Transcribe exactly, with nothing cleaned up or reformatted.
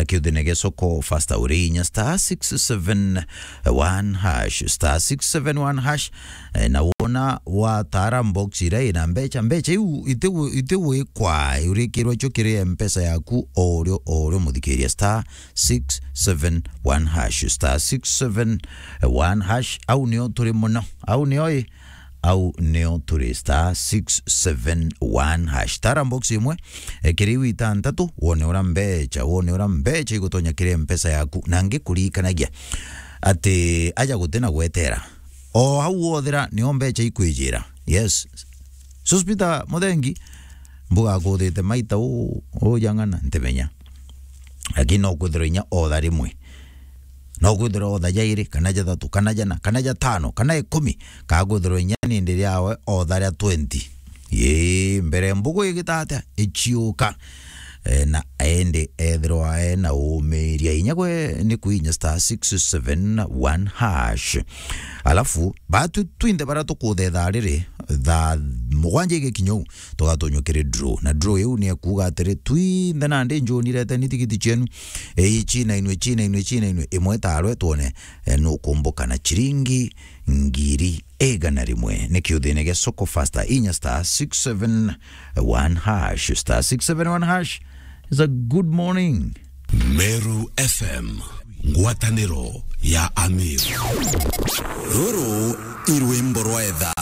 kiuthine gia soko faster uri inya star six seven one hash, star six seven one hash. Eh, na wona wataara box iria ina mbecha, mbecha iu itigu-, itigwikwa, urikirwa cio kiri mpesa yaku o urio, o urio muthikiria, star six seven one hash, star six seven one hash. Au nio turi mono, au nio i, au nio turi, star six seven one hash. Tara box imwe, eh, kiri iu itantatu, wone ura mbecha, wone ura mbecha igutonya kiri mpesa yaku, na ngikuririkanagia ati aja guti na gwetera. O au wothira nio mbecha ikwijira. Yes. Suspita Muthengi, mbuga akuthite maita u, u jang'ana, ntimenya. Lakini no kwithirwa inya otha rimwe. No kwithirwa otha jairi, kana jathatu, kana jana, kana jatano, kana ikumi, kana kwithirwa inya nindi riawe otha ria twenty. Ii, mbere mbugu igita atia? Ichiuka. Eh, na indi ethirwa ena umiria inya gwe ni kuinya star six seven one hash. Alafu, batu twinthe bara tukuthetha riri, thaa mugwanja igikinya u, tugatunywa kiri draw. Na draw iu ni ekuuga atiri, twinthe nandi njunirete ni tigiti cienu, eh, ichinainwe, chinainwe, chinainwe, imwe tarwe twone, eh, nukumbuka na chiringi ngiri igana rimwe. Ni kiuthine gia soko faster, inya star six seven one hash, star six seven one hash. Is a good morning. Meru F M, ngwataniro ya Amir. Ruru i rwimbo rwa etha.